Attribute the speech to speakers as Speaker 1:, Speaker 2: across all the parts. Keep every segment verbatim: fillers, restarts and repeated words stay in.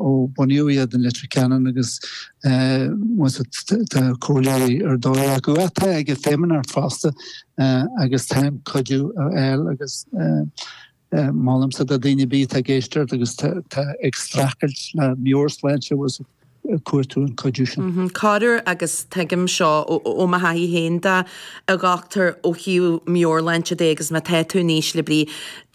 Speaker 1: Ó bunaíodh iad in Leitir Ceanainn agus tá comhairleoirí ar dóigh acu atá ag an Feidhmeannacht fosta agus táim cuidiú a fháil agus molaimse do daoine ar bith atá ag éisteacht agus tá ag streachailt le meabhairshláinte agus cuartú an cuidiú
Speaker 2: sin. Corruair agus tuigim seo ó mo thaithí féin de, a dhochtúir, ó thaobh meabhairshláinte de agus má tá tú in ísle brí,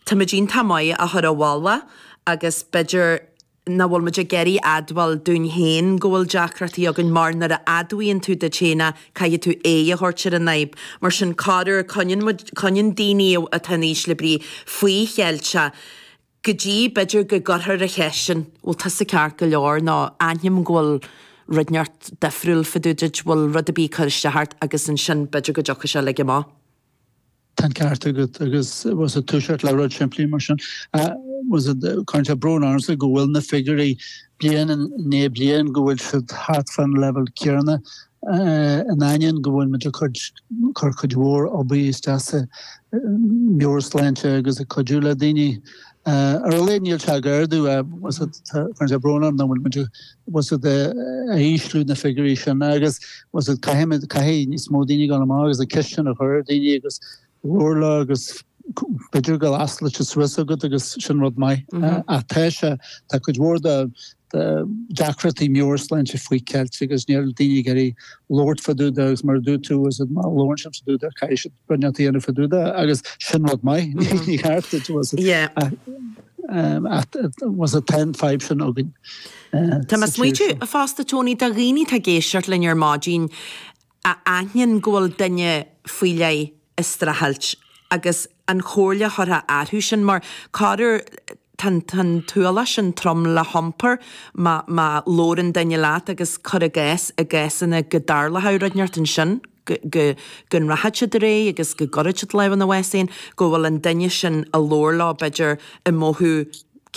Speaker 2: táimid iontach maith a chur i bhfolach agus b'fhéidir nach bhfuil muid ag iarraidh admháil dúinn féin go bhfuil deacrachtaí againn mar nuair a admhaíonn tú duit féin é caithfidh tú aghaidh a thabhairt ar an fhadhb. Mar sin corruair coinníonn muid, coinníonn daoine atá in ísle brí faoi cheilt é go dtí b'fhéidir go gcuirfear an cheist sin, bhfuil tusa ceart go leor nó aithním go bhfuil rud inteacht difriúil fá dtaobh duit, bhfuil rud ar bith ag cur isteach ort agus ansin b'fhéidir go dtiocfaidh sé uilig amach.
Speaker 1: Tá an ceart agat agus was it toiseacht le rud simplí mar sin. Was it cuireann sé brón ormsa go bhfuil na figiúirí bliain i ndiaidh bliain go bhfuil siad thart fán leibhéal céanna in ainneoin go bhfuil muid ag cur cuid mhór obair isteach sa meabhairshláinte agus ag cuidiú le daoine. Ar a laghad níl sé ag ardú was it cuireann sé brón orm nach bhfuil muid was it ag ísliú na figiúirí sin agus was it caithfidh caithfidh níos mó daoine dul amach agus an ceist sin a chur ar daoine agus labhair leo agus b'fhéidir go osclóidh siad suas agat agus sin rud maith. Ach tá sé tá cuid mhór de deacrachtaí meabhairshláinte faoi cheilt agus níl daoine ag iarraidh labhairt fá dtaobh de agus mar a dúirt tú was it má labhrann siad fá dtaobh de caithfidh siad rud inteacht a dhéanamh fá dtaobh de agus sin rud maith ní ceart duit was it was it tá an fadhb sin againn
Speaker 2: Tá mé ag smaointiú fosta Tony do dhaoine atá ag éisteacht linn ar maidin a aithníonn go bhfuil duine faoi leith ag streachailt agus an chomhairle a thabharfá orthu sin mar corruair tá an t-ualach sin trom le hiompar má má labhrann duine leat agus cuir i gcás i gcásanna go dtarlódh rud inteacht ansin go go go rachaidh siad ar aghaidh agus go gcuirfidh siad lámh ina bhás féin go bhfuil an duine sin a labhair leo b'fhéidir ag mothú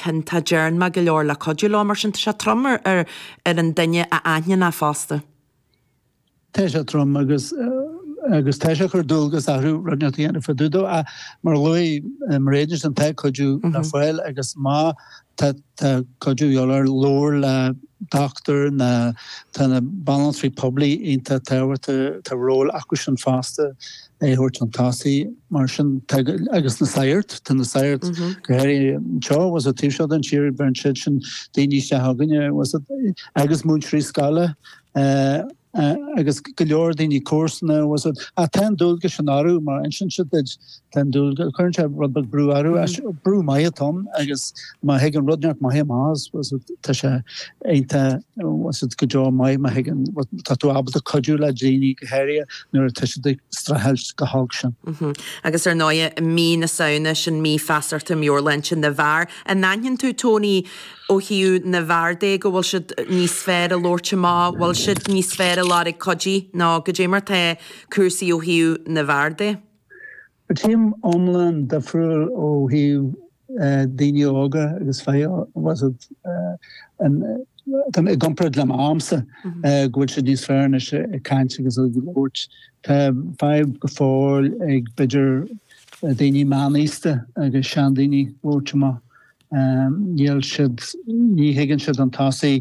Speaker 2: ciontach ndearna mé go leor le cuidiú leo mar sin tá sé trom ar ar ar an duine a aithníonn é fosta.
Speaker 1: Tá sé trom agus agus tá sé ag cur dualgas orthu rud inteacht a dhéanamh fá dtaobh dó ach mar a luaigh Mairéad ansin tá cuidiú le fáil agus má tá tá cuidiú de dhíobháil ort labhair le dochtúir nó tá na banaltraí poiblí iontach tábhachtach tá ról acu sin fosta é a thabhairt chun tosaigh mar sin tá agus na sagairt tá na sagairt go háirithe anseo was it taobh seo den tír bheireann siad sin daoine isteach chugainne was it agus múinteoirí scoile agus go leor daoine comharsana was it ach tá an dualgas sin orthu mar insíonn siad duit tá an dualgas cuireann sé rud beag brú orthu brú maith atá ann agus má thigeann rud inteacht maith amach as was it tá sé iontach was it go deo maith má thigeann tá tú ábalta cuidiú le daoine go háirithe nuair atá siad ag streachailt chomh holc
Speaker 2: sin. Agus ar ndóigh mí na Samhna sin mí feasachta meabhairshláinte na bhfear. An aithníonn tú Tony ó thaobh na bhfear de go bhfuil siad níos fearr ag labhairt amach, bhfuil siad níos fearr ag lorg cuidí nó goidé mar tá cúrsaí ó thaobh na bhfear de?
Speaker 1: Tchím iomlán difriúil ó thaobh daoine óga agus fir was it tá i gcomparáid le m'amsa go bhfuil siad níos fearr anois ag caint agus ag labhairt. Tá fadhb go fóill ag b'fhéidir daoine meánaosta agus seandaoine labhairt amach. Níl siad, ní thigeann siad chun tosaigh,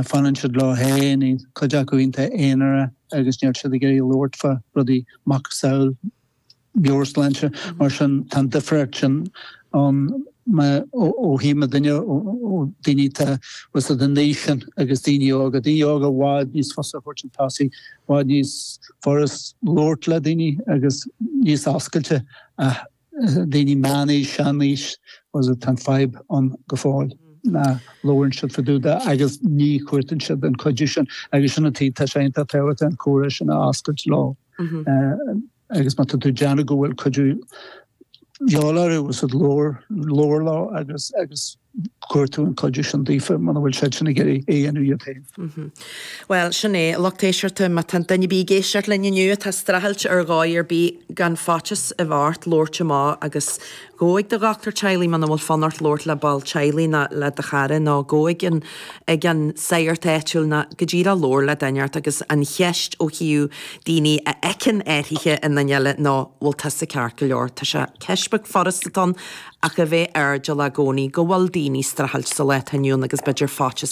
Speaker 1: fanann siad leo féin, cuid acu iontach aonarach agus níl siad ag iarraidh labhairt fá rudaí macasamhail meabhairshláinte. Mar sin, tá an difríocht sin ann ó thaobh mo duine, ó daoine atá was it an aois sin agus daoine óga. Daoine óga i bhfad níos fusa a thabhairt chun tosaigh, i bhfad níos furast labhairt le daoine agus níos oscailte ach daoine meánaois, seanaois, was it, tá an fadhb ann go fóill nach labhrann siad fá dtaobh de agus ní chuartaíonn siad an cuidiú sin agus sin an taobh, tá sé iontach tábhachtach an comhrá sin a oscailt leo agus má tá tú ag déanamh go bhfuil cuidiú de dhíobháil orthu, was it, labhair, labhair leo agus agus cuartú an cuidiú sin daofa muna bhfuil siad sin ag iarraidh é a dhéanamh iad
Speaker 2: féin. Bhuel, sin é, a lucht éisteachta, má tá duine ar bith ag éisteacht linn inniu atá ag streachailt ar dhóigh ar bith, gan faitíos a bheith ort labhairt amach agus gabh ag do dhochtúir teaghlaigh muna bhfuil fonn ort labhairt le ball teaghlaigh nó le do chara nó gabh ag an ag an sagart áitiúil nó go díreach labhair le duine ort agus an cheist ó thaobh daoine a fheiceann athruithe i nduine eile ná bhfuil tusa ceart go leor. Tá sé ceist beag furast atá ann ach a bheith airdeallach i gcónaí go bhfuil daoine streachailt sa lá atá inniu ann agus b'fhéidir faitíos